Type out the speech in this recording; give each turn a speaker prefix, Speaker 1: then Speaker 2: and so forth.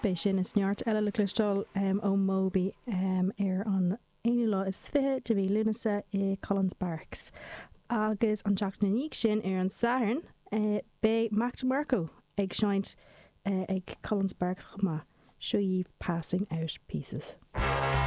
Speaker 1: Beidh sin is neart eile le cloisteáil ó Moby ar an aonú lá is 20 de mhí Lúnasa i Collins Barracks. Agus an tseachtain ina dhiaidh sin, ar an Satharn, beidh Mac DeMarco ag seinnt ag Collins Barracks chomh maith. Seo dhaoibh Passing Out Pieces.